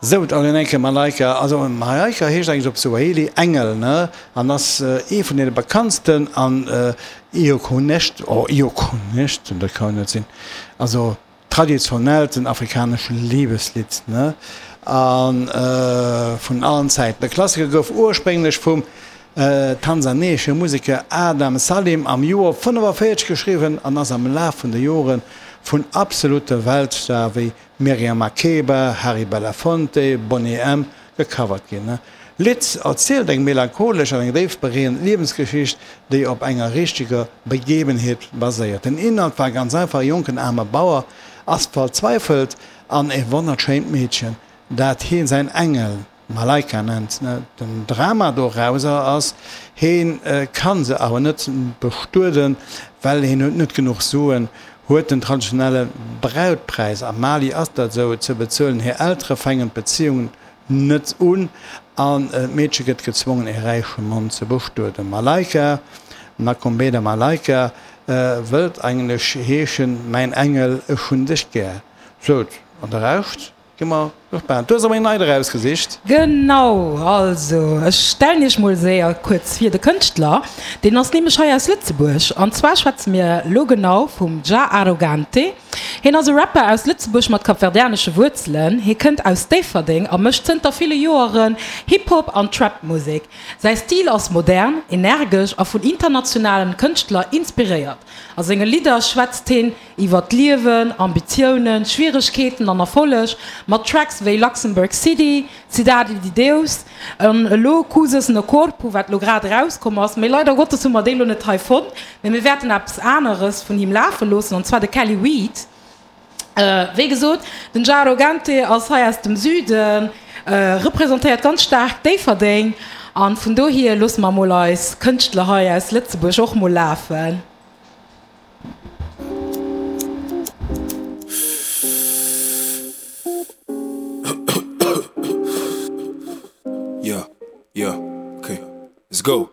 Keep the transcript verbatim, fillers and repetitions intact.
Sou, dann eng Kéier Malaika. Also Malaika heescht eigentlech op Swahili Engel, ne? An ass ee vun deene bekanntsten an ikoneschst, oh ikoneschsten, dat kann net sinn, also traditionellsten afrikanesche Libeslidd, ne? A vun allen Zäiten. De Klassiker gouf ursprénglech vum tansanesche Museker Adam Salim am Joer fënnefavéierzeg geschriwwen an ass am Laf vun de Jore vun absolute Weltstare wéi Miriam Makeba, Harry Belafonte, Boney M. Gecovert ginn. D'Lidd erzielt eng melancholesch an eng déif beréierend Liewensgeschicht, déi op enger richteger Begebenheet baséiert. Den Inhalt war ganz einfach, E jonken aarme Bauer ass verzweifelt an e wonnerschéint Meedchen, dat hien säin Engel, Malaika nennt. Den Drama dorauser ass, heen kann se awer net bestueden, well heen huet net genuch Suen, huet den traditionelle Brautpräis, am Mali ass dat esou, ze bezuelen. Hir Eltere fänken d'Beziehung net un an d'Meedche gëtt gezwongen ee räiche Mann ze bestueden. Malaika, Nakombeda Malaika, wëllt eigentlech heeschen, Mäin Engel, ech hunn dech gär. Sou, an de Rescht Gi mer gespaant. Du hues erëm eng nei erausgesicht. Genau, also ech stellen iech mol séier kuerz vir, de Kënschtler deen ass nämlech hei aus Lëtzebuerg an zwar schwätze mir lo genau vum Jah Arrogante. Hien ass e Rapper aus Lëtzebuerg mat kapverdianesche Wuerzelen. Hie kënnt aus Déifferdeng a mécht zënter ville Joeren Hip-Hop an Trap-Musek. Säi Stil ass modern, energesch a vun internationalen Kënschtler inspiréiert. A senge Lidder schwätzt hien iwwer d'Liewen, Ambitiounen, Schwieregkeeten an Erfolleg, mat Tracks wéi Luxembourg City, Cidade de Deus an elo Coisas no Corpo, wat elo grad erauskomm ass. Mee leider Gottes hu mer déi elo net hei fonnt, mee mir wäerten eppes aneres vun him lafe loossen, an zwar de Kelly Weed. Wéi gesot, den Jah Arrogante ass hei aus dem Süden, representéiert ganz staark Déifferdeng an vun dohier loosse mer mol eis Kënschtler hei aus Lëtzebuerg och mol lafen. Yeah, yeah, okay, let's go.